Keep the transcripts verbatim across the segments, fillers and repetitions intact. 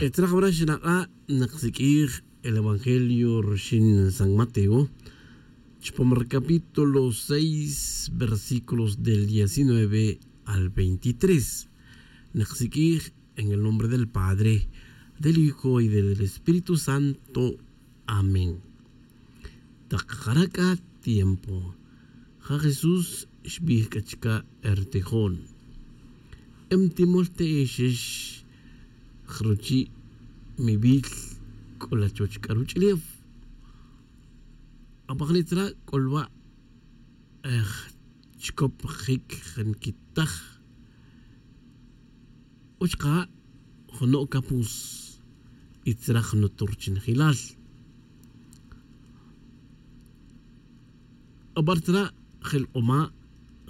Etzra jabra xinak'a' nak siq'uij el evangelio rixin san mateo, chupam recapítulo seis versículos del diecinueve al veintitrés. Nak siq'uij en el nombre del padre, del hijo y del espíritu santo. Amén. Tak jara' c'a tiempo ja jesús xbij c'a chica' ertijon. Em timol te'exex jruchi' mibil c'o la chuwech c'a ruch'ulef. Apajli' tzra' c'o lwa' ej chicop jic jenquitaj. Uch ka' jno' capuz y tzra' jno' turchinjilal. Abar tzra' jel k'uma'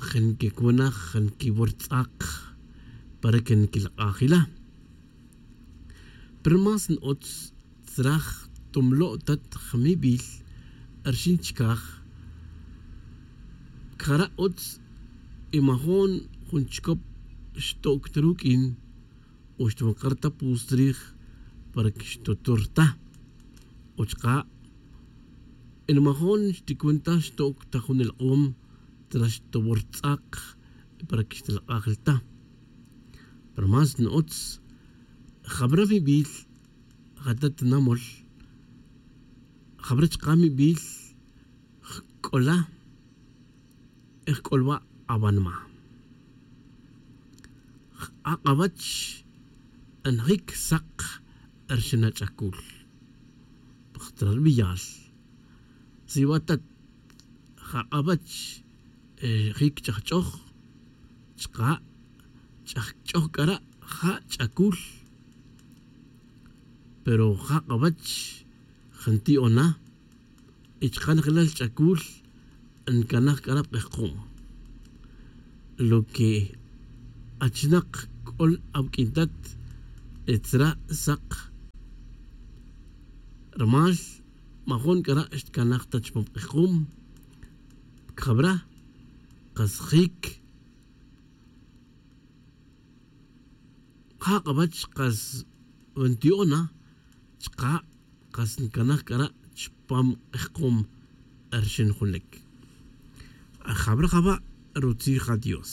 jenquicunaj jenquiwor tz'ak para que nquilak'aj ila. Pero más n-utz tzra' jtomlo'tat jmibil rxin chicaj. Cara' utz y majo'n jun chicop xto'c ta ruq'uin o xtwakar ta pus chrij para que xtotor ta. O chaka' y majo'n xticun ta xto'c ta jun elk'om tzra' xtowor tz'ak para que xtilak'aj ta. Pero más n-utz jabra mibil jata tinamol jabra chaka' mibil jc'ola. Jc'olwa' awanma jak'awach njic sak rxin ach'acul. Pajtra' rubiyal si wa tat jak'awach jic ch'ajch'oj chaka' ch'ajch'oj c'ara' ja ch'acul. Pero jak'awach janti'ona y chaka' njelal ch'acul ncanaj c'ara' pk'ejkom. Lo que achinak c'ol awuq'uin tat etzra' sak rumal majo'n c'ara' xtcanaj ta chupam k'ejkom. Jabra kas jic jak'awach kas nti'ona chaka' kas ncanaj c'ara' chupam k'ejkom. Rxin junic jabra jaba' rutzij adios.